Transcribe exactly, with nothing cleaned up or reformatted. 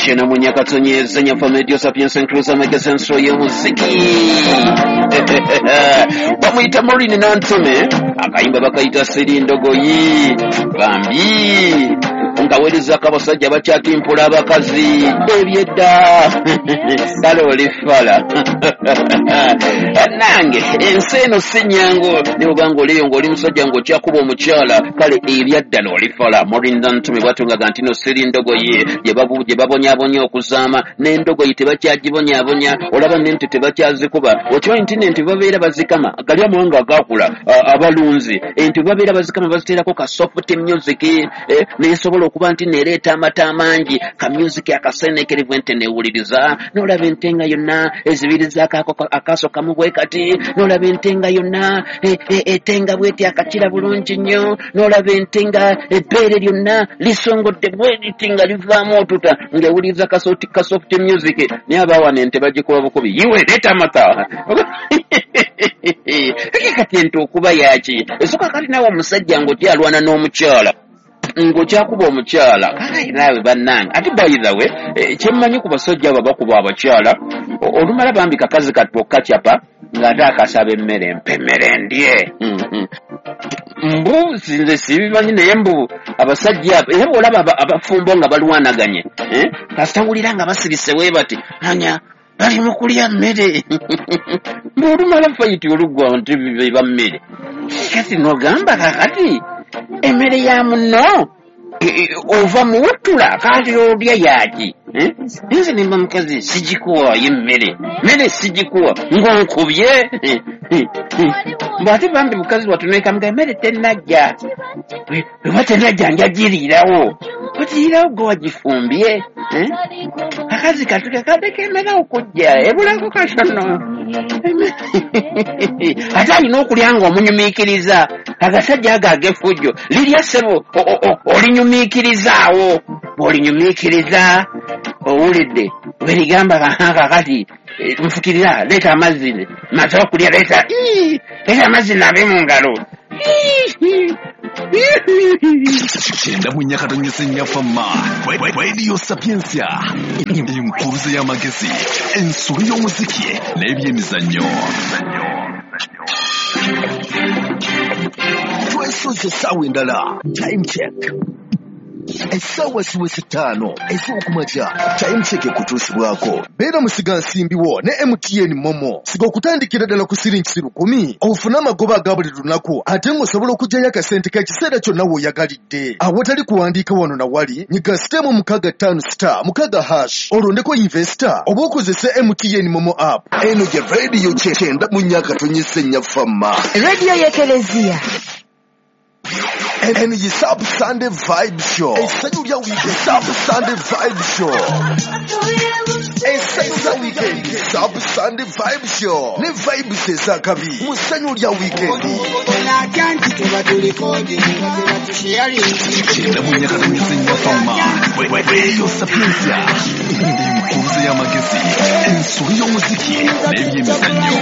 Shena munyakatonye zenya Medio Sapiens Cruiser Magazine y'omuziki. Bamuyita Maureen Nantume, akayimba bakayita Siri Ndogoyi. Bambi nkaweereza abasajja bakyatimpula abakazi ebyedda, kale olifala nange ensi eno si nyangu, ne bwobanga oliyo ng'oli musajja ng'okyakuba omukyala, kale ebyaddala olifala. Maureen Nantume bwatungaga nti no Siri Ndogoyi gye babonyabonya okuzaama, n'endogoyi tebakyagibonyabonya, olaba n'ente tebakyazikuba. Okimanyi nti n'ente babeera bazikama, gali amawanga agakula abalunzi, ente babeera bazikama baziteerako ka soft music, nesobola okuba nti nereeta amata amangi, ka music akasenekerevu ente newuliriza, n'olaba ente nga yonna ezibirizaako akaaso kamu bwe kati, n'olaba ente nga yonna etenga bweti akakira bulungi nnyo, n'olaba ente nga ebbeere lyonna lisongodde bweriti nga livaamu otuta ng'ewuliriza ka soft music. Naye abawana ente bagikuba bukubi, yiwe leeta amata. Kati ente okuba yaki esooka, kati naawe omusajja ng'okyalwana n'omukyala, ng'okyakuba omukyala, kale naawe bannange. Ate by the way, kyemmanyi ku basajja abo bakuba abakyala, olumala bambi kakazi kattu okakyapa ng'ate akasaba emmere, mpa emmere ndye. Mbu nze sibimanyi, naye mbu abasajja abo era bw'olaba abafumbo nga balwanaganye, kasita wulira nga basirise bwe bati, anya bali mu kulya mmere. Mbu olumala fight oluggwa nti beba mmere. Kati n'ogamba kakati emmere ya munno ova muwutula, kati olya yaki? Nze nemba mukazi sigikuwaayo emmere, mmere sigikuwa ng'onkubye. Mbu ate bambi mukazi watunekamuga emmere tennajja, bweba tennajja njagiriirawo, ogiriirawo gwe wagifumbye. Akazi katuke kadeko emmere okujja ebulako katono, ate alina okulya ng'omunyumiikiriza. Agasajja ago ag'effujjo lirya ssebo olinyumiikirizaawo, bw'olinyumiikiriza owulidde bwerigamba kakati nfukirira, leeta amazzi maze okulya, leeta leeta amazzi naabe mu ngalo. Kyenda mu nyakatonyesa ennyafama Radio Sapiensia, enkuluze y'amagezi, ensolo y'omuziki n'ebyemizannyo. Twesoze essaawa endala. Time check essaawa ziweze ttaano ez'okumakya. Time check ekutuusibwako beera musigansimbi wo ne M T N Momo. Siga okutandikira ddala ku siringi lukumi ofune amagoba aga buli lunaku, ate ng'osobola okuggyayo akasente k'ekiseera kyonna w'oyagalidde awatali kuwandiika wano na wali. Nyiga sitemu mukaaga ttaano star mukaaga hash olondeko investor oba okozese M T N Momo app. Eno gye radio kyenda mu nyakatonyesa ennyafama, radio y'Ekelezia. N G Sub Sunday Vibe Show. Essanyu lya weekend Sub Sunday Vibe Show. Essanyu lya weekend Sub Sunday Vibe Show. Ne vibes ez'akabi mu ssanyu lya weekend. Kyenda mu nyakatonyesa ennyafama Radio Sapiensia, enkuluze y'amagezi, ensolo y'omuziki n'ebyemizannyo.